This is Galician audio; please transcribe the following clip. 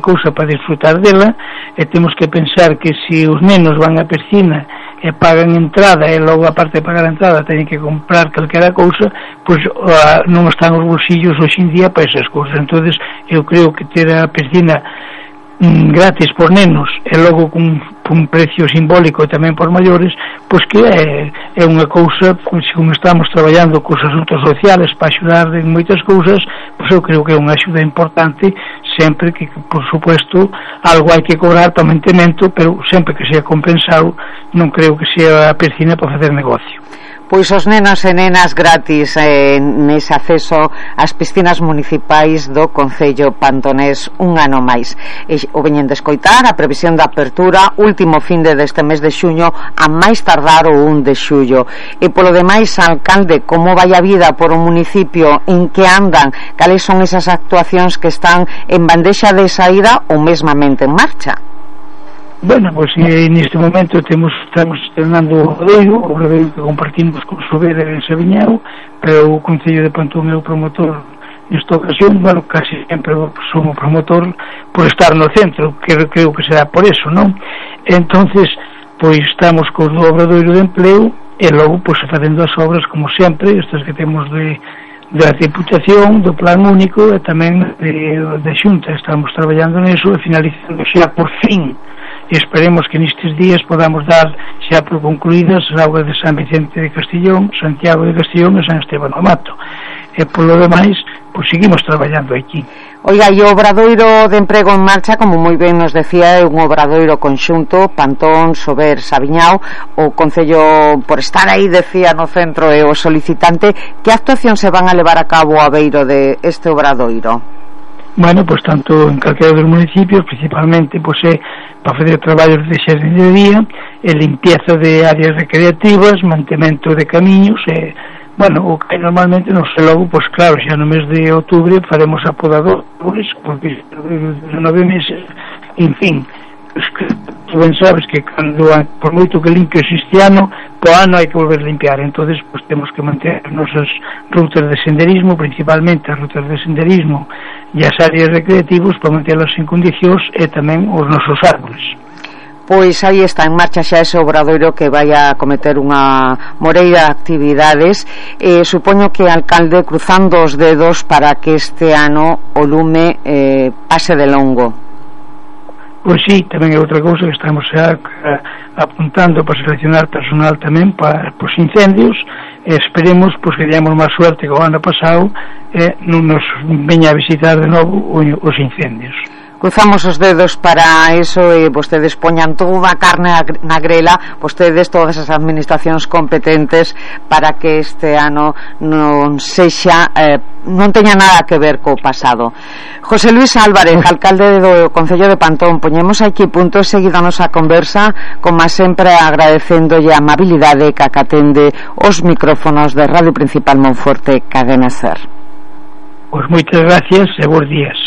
cousa para disfrutar dela, e temos que pensar que se os nenos van á piscina e pagan entrada e logo a parte de pagar a entrada teñen que comprar calquera cousa, pois non están os bolsillos hoxe en día para esas cousas. Entonces eu creo que ter a piscina gratis por nenos e logo cun precio simbólico tamén por maiores, pois que é unha cousa, pois como estamos traballando cos asuntos sociales para axudar en moitas cousas, pois eu creo que é unha axuda importante, sempre que, por supuesto, algo hai que cobrar para mantemento, pero sempre que sea compensado, non creo que sea a piscina para facer negocio. Pois os nenos e nenas gratis nese acceso ás piscinas municipais do Concello Pantonés un ano máis. O veñen de escoitar a previsión de apertura último fin deste mes de xuño a máis tardar o 1 de xullo. E polo demais, alcalde, como vai a vida por un municipio, en que andan, cales son esas actuacións que están en bandexa de saída ou mesmamente en marcha? Bueno, pois neste momento estamos estrenando o Obradoiro que compartimos con Sobera en Sabiñao, pero o Concello de Pantón é o promotor nesta ocasión. Bueno, casi sempre somos promotor por estar no centro, que creo que será por eso, non? Entonces, pois estamos co Obradoiro de Empleo e logo pois facendo as obras como sempre, estas que temos da Diputación, do Plan Único e tamén de Xunta. Estamos traballando neso e finalizando xa por fin, e esperemos que nestes días podamos dar xa por concluídas as obras de San Vicente de Castillón, Santiago de Castillón e San Esteban do Mato. E polo demais, pois seguimos traballando aquí. Oiga, e o Obradoiro de Emprego en marcha, como moi ben nos decía, é un obradoiro conxunto, Pantón, Sober, Sabiñao, o Concello, por estar aí, decía, no centro, e o solicitante, que actuacións se van a levar a cabo a beiro de este obradoiro? Bueno, pois tanto en calquera dos municipios, principalmente pois é para fazer traballos de xardinaría e limpieza de áreas recreativas, mantemento de camiños e, bueno, o que normalmente non sei logo, pois claro, xa no mes de outubro faremos apodadores, porque 9 meses, en fin, tú ben sabes que cando, por moito que limpios este ano, po ano hai que volver a limpiar. Entonces pues temos que manter as nosas rutas de senderismo, principalmente as rutas de senderismo e as áreas recreativas, para mantelas en condicións, e tamén os nosos árboles. Pois aí está en marcha xa ese obradoiro que vai a cometer unha moreira de actividades. Supoño que, alcalde, cruzando os dedos para que este ano o lume pase de longo. Pois sí, tamén é outra cousa que estamos apuntando para seleccionar personal tamén para os incendios, e esperemos pois que teñamos máis suerte que o ano pasado e non nos veña a visitar de novo os incendios. Cruzamos os dedos para eso e vostedes poñan toda a carne na grela, vostedes, todas as administracións competentes, para que este ano non sexa non teña nada que ver co pasado. José Luis Álvarez, alcalde do Concello de Pantón, poñemos aquí punto seguido a nosa conversa, como sempre agradecéndolle a amabilidade que acatende os micrófonos de Radio Principal Monforte, Cadena Ser. Pois moitas gracias e bons días.